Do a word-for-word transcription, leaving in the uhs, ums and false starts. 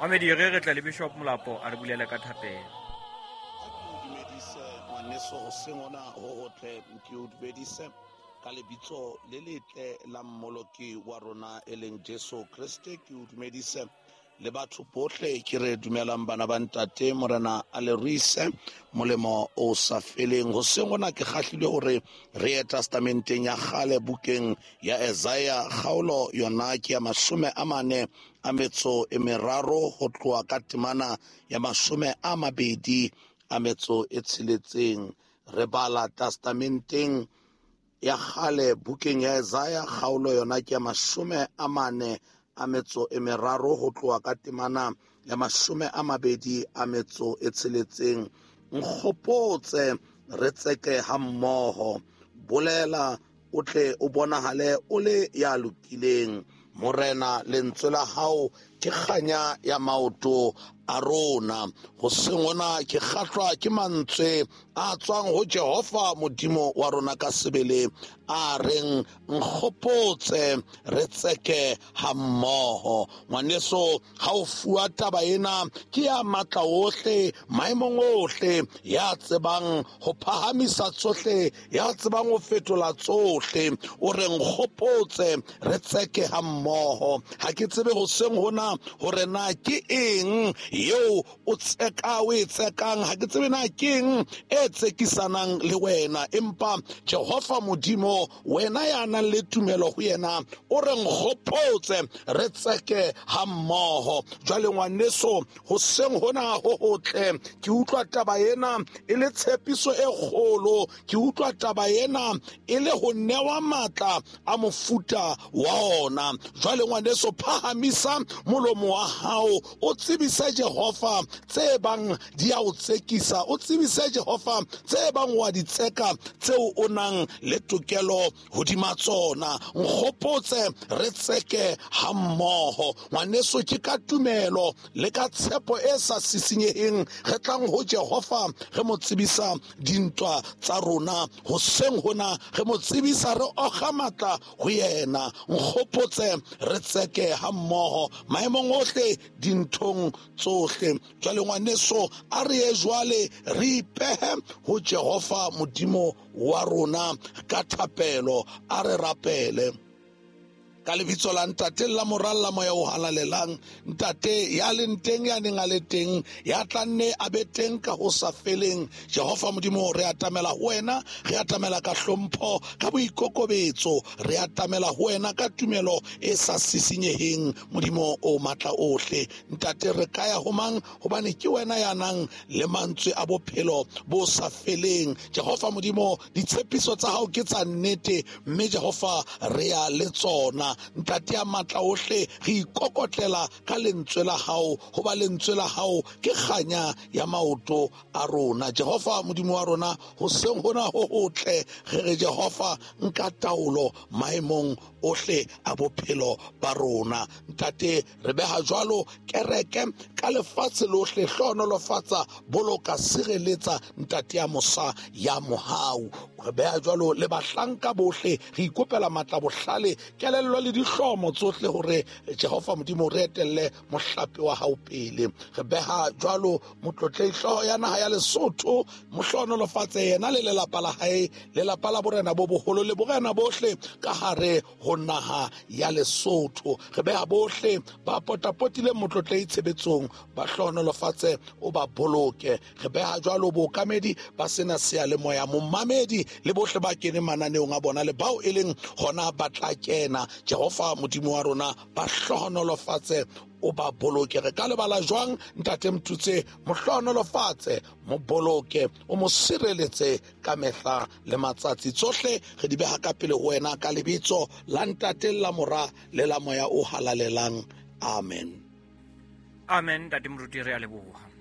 Mamedi re re tla le Bishop Molapo a re bulele ka thapelo. Ha ke o dumedise ngwaneso hoseng hona ho hotle, ke o dumedise ka lebitso le letle la mmoloki wa rona e leng Jesu Kreste. Ke o dumedise le batho bohle, ke re dumelang bana ba ntate, Morena a le ruise molemo o sa feleng. Hoseng hona ke kgahlilwe hore re ye testamenteng ya kgale, bukeng ya Isaiah, kgaolo yona ke ya mashome a mane a metso e meraro, ho tloha ka temana ya mashome a mabedi a metso e tsheletseng. Re bala testamenteng ya kgale, bukeng ya Isaiah, kgaolo yona ke ya mashome a mane a metso e meraro, ho tloha ka temana ya mashome a mabedi a metso e tsheletseng. Nkgopotse re tseke ha mmoho, bolela o tle o bonahale o le ya lokileng. Morena, lentswe la hao ke kganya ya maoto a rona. Hoseng hona ke kgahlwa ke mantswe a tswang ho Jehova Modimo wa rona ka sebele, a reng nkgopotse re tseke ha mmoho. Ngwaneso, ha o fuwa taba ena ke ya matla ohle, maemong ohle, ya tsebang ho phahamisa tsohle, ya tsebang ho fetola tsohle, o re nkgopotse re tseke ha mmoho. Ha ke tsebe hoseng hona hore na ke eng eo o tseka, o e tsekang, ha ke tsebe na ke eng e tsekisanang le wena, empa Jehova Modimo, wena ya nang le tumelo ho yena, o re nkgopotse re tseke ha mmoho. Jwale ngwaneso, hoseng hona ho hotle, ke utlwa taba ena e le tshepiso e kgolo, ke utlwa taba ena e le ho newa matla a mofuta wa ona. Jwale ngwaneso, phahamisa molomo wa hao, o tsebise Jehova tse bang di a o tsekisa, o tsebise Jehova tse bang wa di tseka, tseo o nang le tokelo hodima tsona. Nkgopotse re tseke ha mmoho. Ngwaneso, ke ka tumelo le ka tshepo e sa sisinyeheng re tlang ho Jehova, re mo tsebisa dintwa tsa rona. Hoseng hona re mo tsebisa, re okga matla ho yena. Nkgopotse re tseke ha mmoho maemong ohle, dinthong tsohle. Jwale ngwaneso, a re ye jwale re ipehe ho Jehova Modimo wa rona ka thapelo. A re rapele ka lebitso la Ntate, la Mora, la Moya o Halalelang. Ntate ya leng teng, ya neng a le teng, ya tla nne a be teng ka ho sa feleng. Jehova Modimo, re atamela ho wena, re atamela ka hlompho, ka boikokobetso, re atamela ho wena ka tumelo e sa sisinyeheng, Modimo o matla ohle. Ntate, re ka ya ho mang? Hobane ke wena ya nang le mantswe a bophelo bo sa feleng. Jehova Modimo, ditshepiso tsa hao ke tsa nnete, mme Jehova re ya le tsona. Ntate ya matla ohle, re ikokotlela ka lentswe la hao, hoba lentswe la hao ke kganya ya maoto a rona. Jehova Modimo wa rona, hoseng hona ho hotle, re re Jehova nka taolo maemong ohle a bophelo ba rona. Ntate, re beha jwalo kereke ka lefatshe lohle, hlohonolofatsa, boloka, sireletsa, Ntate ya mosa ya mohau. Re beha jwalo le bahlanka bohle, re ikopela matla, bohlale, kelello le dihlomo tsohle hore Jehova Modimo re etelle mohlape wa hao pele. Re beha jwalo motlotlei hlooho ya naha ya Lesotho, mohlohonolofatse yena le lelapa la hae, lelapa la borena bo boholo le borena bohle ka hare ho naha ya Lesotho. Re beha bohle ba potapotileng motlotlei tshebetsong, ba hlohonolofatse, o ba boloke. Re beha jwalo bookamedi ba sena seyalemoya, momamedi le bohle ba keneng mananeong a bona le bao e leng hona ba tla kena. Jehova Modimo wa rona, ba hlohonolofatse, o ba boloke. Re ka lebala jwang Ntate Mtutse? Mo hlohonolofatse, mo boloke, o mo sireletse ka mehla le matsatsi. Tsohle re di beha ka pele ho wena ka lebitso la Ntate, la Mora le la Moya o Halalelang. Amen. Amen. Ntate Moruti, re a leboha.